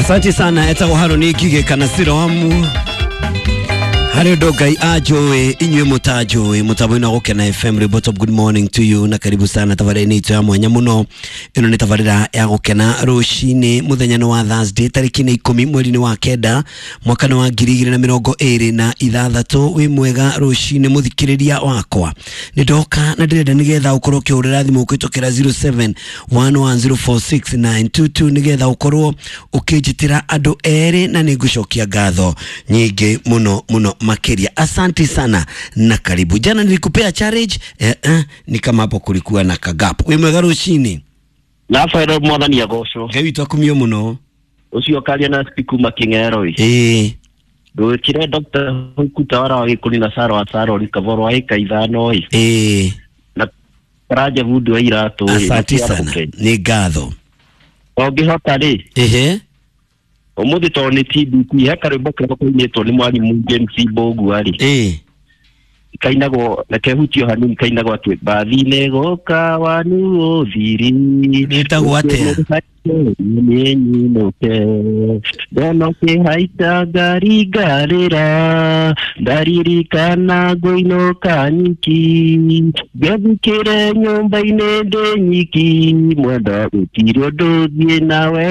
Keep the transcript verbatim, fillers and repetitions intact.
Asante sana etagwo Harũni Ngigĩ kana Siroamu harĩ ũndũ Ngai anjũĩ inyuĩ mũtanjũĩ mũtambo-inĩ wa Gũkena F M Rĩmbo Top, good morning to you na karibu sana tabarĩra-inĩ itũ ya mwanya mũno. Ĩno nĩ tabarĩra ya Gũkena rũcinĩ mũthenya nĩ wa Thursday tarĩki nĩ ikũmi mweri-inĩ wa kenda mwaka nĩ wa ngiri igĩrĩ na mĩrongo ĩrĩ na ithathatũ. Wĩ mwega rũcinĩ mũthikĩrĩria wakwa, nĩ ndoka na ndĩrenda nĩgetha ũkorwo ũkĩhũrĩra thimũ ũkĩtũkĩra zero seven one one zero four six nine two two nĩgetha ũkorwo ũkĩnjĩtĩra andũ erĩ na nĩ ngũcokia ngatho nyingĩ mũno mũno makĩria. Asante sana na karibu. Jana nilikupea challenge eh, eh, ni kama hapo kulikuwa na kagap. Wĩ mwega rũcinĩ. Rafael mwathani agocwo. Ngai witũ akumio mũno. Ũcio karia na spiku making'ero ĩ. Ĩĩ. Ndũkire Doctor Hukuta wara wa Gĩkũni na Saro wa Saro Kaboro wa ĩka ithano ĩ. Ĩĩ. Na Karanja bundi wa iratũ ĩ. Asante sana. Nĩ ngatho. Ũngĩhota rĩ. Ehe. Ũmũthĩ tondũ nĩ T B T he karwĩmbo karĩa kainĩtwo nĩ mwarimũ James Mbũgua rĩ. Ĩĩ. Kainagwo na kehutio hanini kainagwo atĩ mbathi-inĩ gũka wanu ũthiri. Wĩtagwo atĩa? Nĩnyinũke ndona ũkĩhaica ngari ngarĩra ndaririkana ngũinũka nyiki ngethikĩre nyũmba-inĩ ndĩ nyiki mwenda gũtirĩ ũndũ thiĩ nawe.